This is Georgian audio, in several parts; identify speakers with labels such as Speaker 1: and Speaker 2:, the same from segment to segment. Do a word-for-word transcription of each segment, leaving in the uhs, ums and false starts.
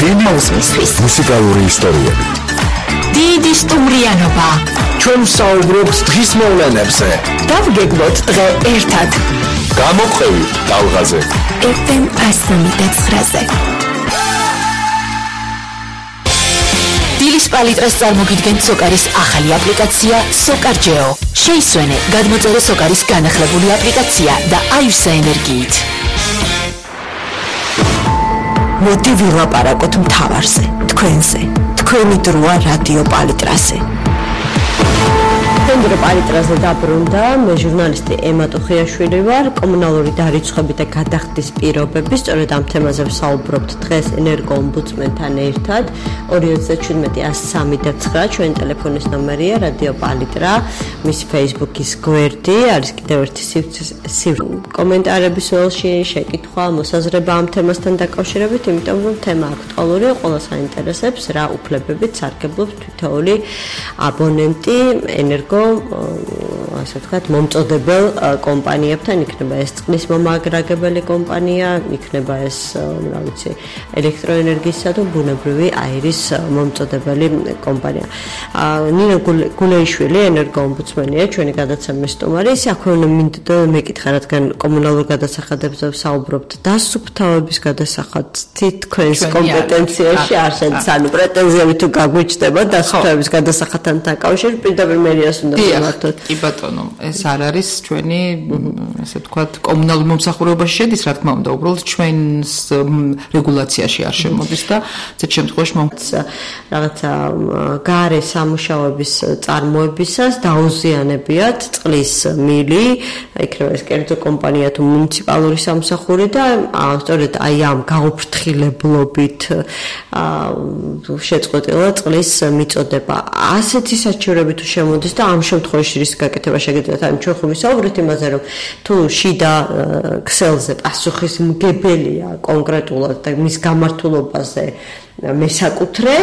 Speaker 1: დიდი უსმისთვის
Speaker 2: მუსიკალური ისტორიები.
Speaker 1: დიდი სტუმრიანობა.
Speaker 2: ჩვენ ვსაუბრობთ დღის მოვლენებზე.
Speaker 1: დავგეგმოთ დღე ერთად.
Speaker 2: გამოყვებით ტალღაზე.
Speaker 1: ეფ ემ ასამდე ცხრაზე. დილის პალიტრას წარმოგიდგენთ სოკარის ახალი აპლიკაცია სოკარჯეო. შეისვენე, გადმოწერე სოკარის განახლებული აპლიკაცია და აივსა ენერგიით. მოდი ვილაპარაკოთ მთავარზე, თქვენზე. თქვენი დროა რადიო პალიტრაზე.
Speaker 3: Tendro პალიტრაზე დაბრუნდა, მე ჟურნალისტი ემა ტუხიაშვილი ვარ, კომუნალური დარიცხვები და გადახდის პირობები, სწორედ ამ თემაზე ვსაუბრობთ დღეს ენერგოომბუდსმენთან ერთად. ორი ოცდაშვიდი ათი სამი ცხრა ჩვენი ტელეფონის ნომერია, რადიო პალიტრა, მისი Facebook-ის გვერდი, არის კიდევ ერთი სივრცე. კომენტარების ველში შეკითხვა, მოსაზრება ამ თემასთან დაკავშირებით, იმიტომ რომ თემა აქტუალურია, ყველას აინტერესებს, რა უფლებებით სარგებლობს თითოეული აბონენტი ენერგო ასე ვთქვათ, მომწოდებელ კომპანიებთან, იქნება ეს წყლის მომაგრაგებელი კომპანია, იქნება ეს, რა ვიცი, ელექტროენერგიისა და ბუნებრივი აირის მომწოდებელი კომპანია. ნინო გულეიშვილი ენერგოომბუდსმენია, ჩვენი გადაცემის სტუმარი. ის აქვე მინდოდა მეკითხა, რადგან კომუნალურ გადასახადებზე ვსაუბრობთ, დასუფთავების გადასახად თქვენს კომპეტენციაში არსებობს, ანუ პრეტენზიები თუ გაგვიჩნდება დასუფთავების გადასახადთან დაკავშირებით, პირდაპირ მერიას უნდა მოვართოთ.
Speaker 4: კი ბატონო, ეს არ არის ჩვენი, ასე ვთქვათ, კომუნალურ მომსახურებაში შედის, რა თქმა უნდა, უბრალოდ ჩვენს რეგულაციაში არ შემოდის და ზედ შემთხვევაში
Speaker 3: რაღაცა გარე სამუშაოების წარმოებისას დაუზიანებიათ წყლის მილი, იქნება ეს კერძო კომპანია თუ მუნიციპალური სამსახური და სწორედ აი ამ გაუფრთხილებლობით შეწყვეტილა წყლის მიწოდება. ასეთი საჩივრები თუ შემოდის და ამ შემთხვევაში რის გაკეთება შეგიძლიათ, ან ჩვენ ხომ ვისაუბრეთ იმაზე, რომ თუ შიდა ქსელზე პასუხისმგებელია კონკრეტულად და მის გამართულობაზე მესაკუთრე,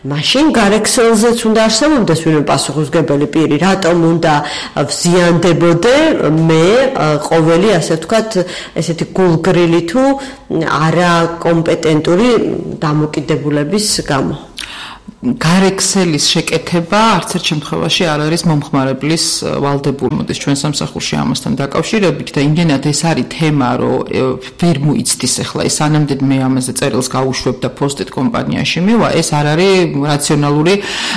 Speaker 3: მაშინ გარექსელზეც უნდა არსებობდეს ვინმე პასუხისმგებელი პირი, რატომ უნდა ვზიანდებოდე მე ყოველი, ასე ვთქვათ, ესეთი გულგრილი თუ არაკომპეტენტური დამოკიდებულების გამო.
Speaker 4: გარექსელის შეკეთება არც ერთ შემთხვევაში არ არის მომხმარებლის ვალდებული. მოდის ჩვენ სამსახურში ამასთან დაკავშირებით და იმდენად ეს არის თემა, რომ ვერ მოიცდის ახლა ეს სანამდე მე ამაზე წერილს გავუშვებ და პოსტით კომპანიაში მივა, ეს არ არის რაციონალური,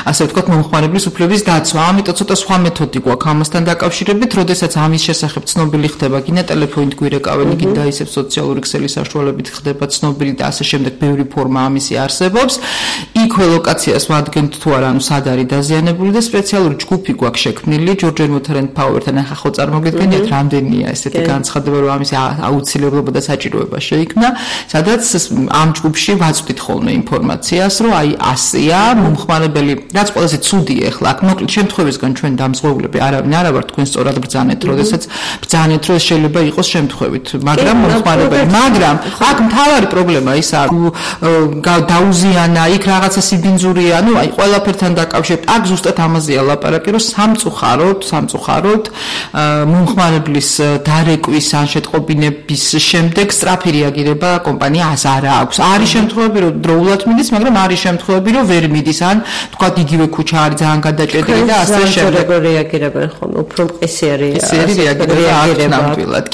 Speaker 4: ასე ვთქვათ, მომხმარებლის უფლების დაცვა. ამიტომ ცოტა სხვა მეთოდი გვაქვს ამასთან დაკავშირებით, როდესაც ამის შესახებ ცნობილი ხდება, გინდა ტელეფონით გვირეკავენ, გინდა ისევ სოციალური ქსელის საშუალებით ხდება ცნობილი და ასე შემდეგ, ბევრი ფორმა ამისი არსებობს. იქვე ლოკაცია ვადგენთ თუ არა, ანუ სად არის დაზიანებული და სპეციალური ჯგუფი გვაქვს შექმნილი ჯორჯ მოთერენ პაუერთან ახლა ხო წარმოგიდგენიათ რამდენია ესეთი განცხადება, რომ ამის აუცილებლობა და საჭიროება შეიქმნა, სადაც ამ ჯგუფში ვაწვდით ხოლმე ინფორმაციას, რომ აი ასეა მომხმარებელი, რაც ყველაზე ცუდია ახლა აქ მოკლედ შემთხვევისგან ჩვენ დამზღვეულები არავინ არა ვართ, თქვენ სწორად ბრძანეთ, როდესაც ბრძანეთ, რომ შეიძლება იყოს შემთხვევით, მაგრამ მომხმარებელი, მაგრამ აქ მთავარი პრობლემა ისაა, დაუზიანა იქ რაღაცა სიბინძური, ანუ აი ყველაფერთან დაკავშირებით აქ ზუსტად ამაზეა ლაპარაკი, რომ სამწუხაროდ, სამწუხაროდ მომხმარებლის დარეკვის ან შეტყობინების შემდეგ სწრაფი რეაგირება კომპანიას არ აქვს. არის შემთხვევები, რომ დროულად მიდის, მაგრამ არის შემთხვევები, რომ ვერ მიდის, ან თქვა იგივე ქუჩა არის ძალიან გადაჭედილი და ასე შემდეგ.
Speaker 3: როგორ რეაგირებენ ხოლმე, უფრო მყისიერი
Speaker 4: რეაგირება აქვს ნამდვილად.